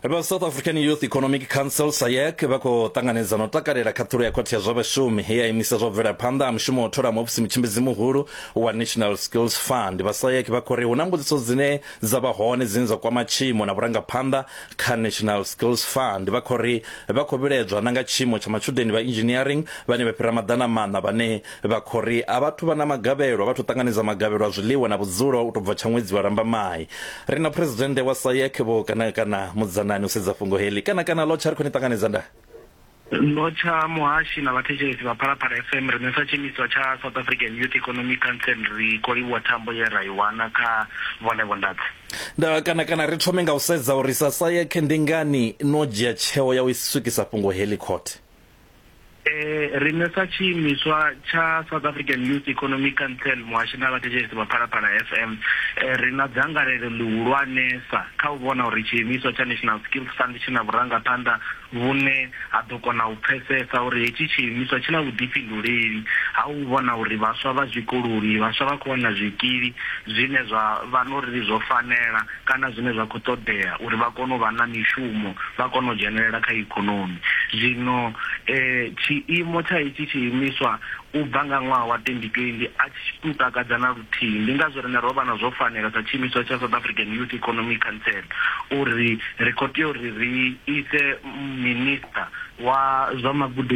Vha South African Youth Economic Council, SAYEC, vha khou ṱanganedza na u takalela khaṱhulo ya khothe ya zwa vhashumi he ya imisa zwa u bvela phanḓa ha mushumo wa u thola muofisi mutshimbidzi muhulu wa National Skills Fund. Vha SAYEC vha khou ri hu na mbudziso dzine dza vha hone dzine dza kwama tshiimo na vhurangaphanḓa kha National Skills Fund. Vha khou ri vha khou vhilaedzwa na nga tshiimo tsha matshudeni vha engineering vhane vha fhira 400 vhane Vha khou ri a vhathu vha na magavhelo, a vhathu ṱanganedza magavhelo a zwiḽiwa na vhudzulo u tou bva tsha ṅwedzi wa Lambamai. Ri na Phresidennde wa SAYEC Vho Kanakana Mudzanani u sedza fhungo heḽi. Kanakana, Lotsha, ri khou ni ṱanganedza nda. Lotsha muhashi na vhathetshelesi vha Phalaphala FM, riṋe sa tshiimiswa tsha South African Youth Economic Council ri khou livhuwa thambo ye ra i wana kha vhone Vho Ndadzi. Nda, Kanakana, ri thome nga u sedza uri sa SAYEC ndi ngani no dzhia tsheo ya u swikisa fhungo heḽi khothe? Riṋe sa tshiimiswa tsha South African Youth Economic Council, muhashi na vhathetshelesi vha Phalaphala FM, ri na dzangalelo ḽihulwanesa kha u vhona uri tshiimiswa tsha National Skills Fund tshi na vhurangaphanḓa vhune ha ḓo kona u pfesesa uri hetshi tshiimiswa tshi na vhuḓifhinduleli ha u vhona uri vhaswa vha zwikoloni, vhaswa vha khou wana zwikili zwine zwa vha na uri zwo fanela kana zwine zwa khou ṱoḓea uri vha kone u vha na mishumo, vha kone u dzhenelela kha ikonomi. Zwino tshiimo tsha hetshi tshiimiswa u bva nga ṅwaha wa 2020 a tshi tou takadza na luthihi. Ndi ngazwo riṋe ro vha na zwo fanela sa tshiimiswa tsha South African Youth Economic Council uri ri khou tea uri ri ise Minisiṱa wa zwa Magudedzi.